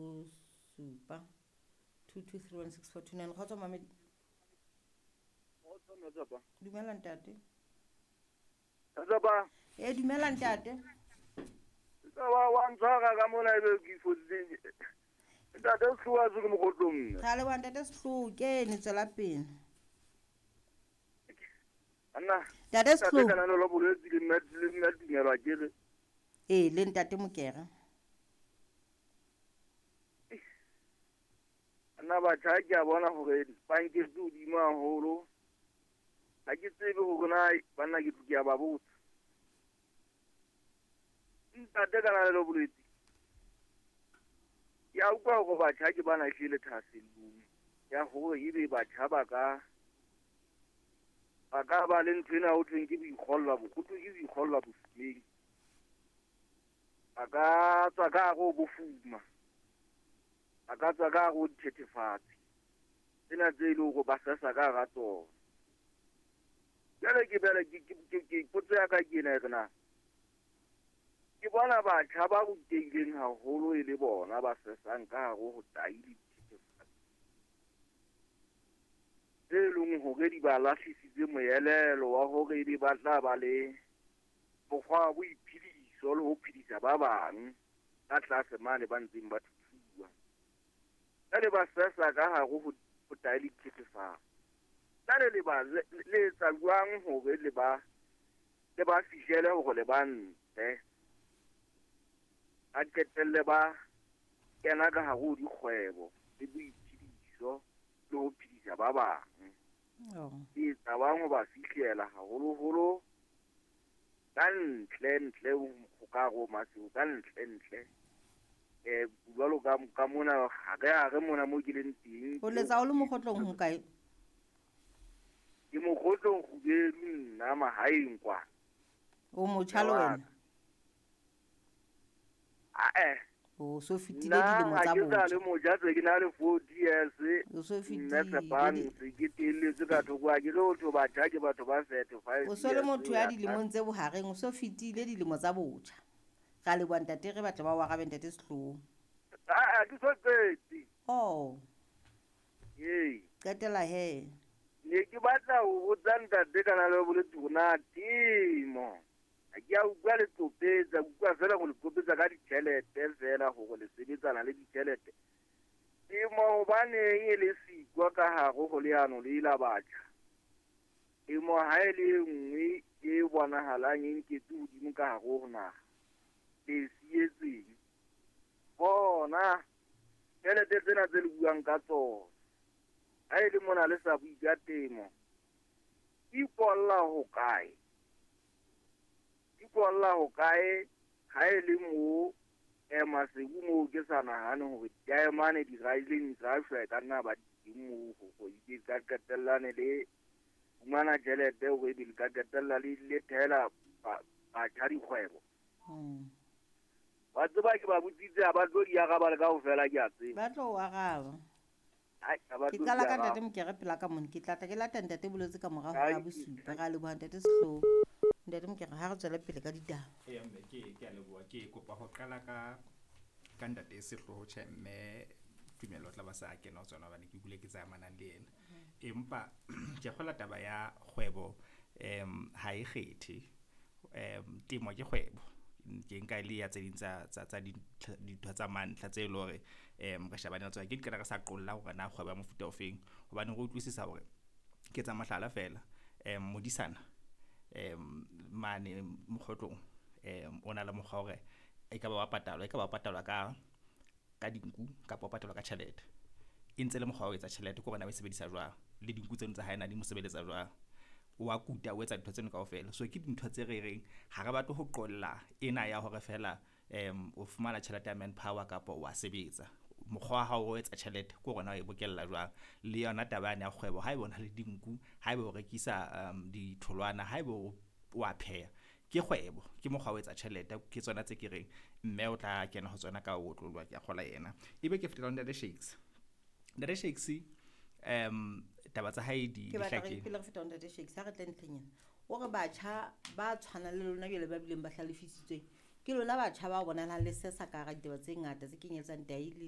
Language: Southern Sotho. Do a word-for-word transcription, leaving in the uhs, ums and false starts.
Supa two two three one six four two nine. Kgotso mamedi. Dumela ntate. Tsapa. E dumela ntate. Tsapa wa ntshwara ka mona ebe ke fodile. Ntate o tloha se ke mokotlong. Ra leboha ntate Sehloho, kene tswela pele. Anna. Ntate Sehloho. Ntate kana lo boletse le mme le mme tumelo ke re. E le ntate Mokere. Nna batjha ke a bona hore ba nketse hodimo haholo. Ha ke tsebe hore na banna ke ke a ba botsa. Ntate kana le boletse. Ke a utlwa hore batjha ke bana hlile thahasellong ya hore ebe batjha ba ka ba ka ba le ntho ena ho thweng ke boikgolla bo ho thwe ke boikgolla bofumeng. Ba ka tswa ka hare ho bofuma. Ba ka tswa ka hare ho dithethefatsi. Tsena tse e leng hore ba sesa ka hara tsona. Jwale ke bele ke ke ke potso ya ka ke ena e re na ke bona batjha ba rutehileng haholo e le bona ba sesang ka hare ho tai le dithethefatsi tse leng hore di ba lahlisitse moelelo wa hore ebe ba tla ba le mokgwa wa boiphediso le ho phedisa ba bang ka tlase mane ba ntseng ba thuthuwa. Jwale ba sesa ka hare ho ho tai le dithethefatsi. Jwale le ba le etsa jwang hore le ba le ba fihlele hore le ba ntle a qetelle ba kena ka hare ho dikgwebo le boiphediso le ho phedisa ba bang. Oh. Ke etsa bang ho ba fihlela haholoholo ka ntle ntle ho ka ho Maseru ka ntle ntle. Eh jwalo ka ka mona ha re ha re mona mo ke leng teng. O letsa o le mokgotlong ho kae? Ke mokgotlong Kgubedu nna mahaeng kwa. O motjha le wena? Ah eh. O so fetile dilemo tsa Nna ha ke sa botjha. le motjha tse ke na le forty years. O so Nna fetile Tsepane, di- se ke telletse ka thoko ha ke le ho thwe batjha ke batho ba thirty-five O so le years motho ho ya ya dilemong tse bohareng, o so fetile dilemo tsa botjha. Ra leboha ntate, re batla ba o arabe ntate Sehloho. Ah, ah, ke so qete. Oh. Ee. Qetela he. Ne ke batla ho botsa ntate kana le boletse hore na temo. Ha ke a utlwa le qopetsa, ke utlwa feela ho le qopetsa ka ditjhelete feela hore le sebetsana le ditjhelete. Temo hobaneng e le sikwa ka hare ho leano le la batjha? Temo ha e le e nngwe e bonahalang e nketse hodimo ka hare ho naha. Le sietseng. Bona tjhelete tsena tse le buang ka tsona. Ha e le mona le sa bue ka temo. Ipolla ho kae? Ipolla ho kae ha e le moo eh Maseru moo ke sa nahane hore diamane di raileng tsa shwa e ka nna ba di teng moo hore e ka qetellane le fumana tjhelete hore ebe le ka qetella le le thehela ba- batjha dikgwebo. Hmm. Wa tseba ke ba botsitse ha ba tlo di araba le kaofela ke a tseba. Ba tlo o araba. Ai, ha ba Ke tlo qala di ka araba. ntate Mokere pela ka mona, ke tla tla ke lata ntate Boletse ka mora Ai, hora ya bosupa. Ra leboha ntate Sehloho. Ntate Mokere ha re tswele pele ka ditaba. Eya mme ke ke a leboha, ke kopa ho qala ka ka ntate Sehloho tjhe mme Tumelo o tla ba sa kena ho tsona hobane ke kule ke tsamanang le yena. Empa ke kgola taba ya kgwebo em ha e kgethe. Em temo ke kgwebo. Ke nka e le ya tse ding tsa tsa tsa dintho tsa mantlha tse leng hore em re shebane le tsona. Ke di qeta re sa qolla hore na kgwebo ya mofuta ofeng hobane re utlwisisa hore ke tsa mohlala feela. Em modisana em mane mokgotlong em o na le mokgwa hore e ka ba wa patalwa, e ka ba patalwa ka ka dinku kapa o patalwa ka tjhelete. E ntse le mokgwa wa ho etsa tjhelete ke hore na o e sebedisa jwang le dinku tseno tsa hae na di mo sebeletsa jwang. Wa kuta o etsa dintho tseno kaofela. So ke dintho tse re reng ha re batle ho qolla ena ya hore feela em o fumana tjhelete ya manpower kapa wa sebetsa. Mokgwa wa hao wa ho etsa tjhelete ke hore na o e bokella jwang. Le yona taba yane ya kgwebo haeba o na le dinku, haeba o rekisa um ditholwana, haeba o wa pheha ke kgwebo, ke mokgwa wa ho etsa tjhelete. Ke tsona tse ke reng mme o tla kena ho tsona ka ho otloloha ke a kgolwa yena. Ebe ke fetela ho ntate Shakes. Ntate Shakes em taba tsa hae di Ke di batla re hlakile. pele re feta ho ntate Shakes ha re tle ntlheng ena. O re batjha ba tshwanang le lona jwale ba bileng ba hlalefisitsweng ke lona batjha ba bonahalang le sesa ka hara ditaba tse ngata tse kenyeletsang tahi le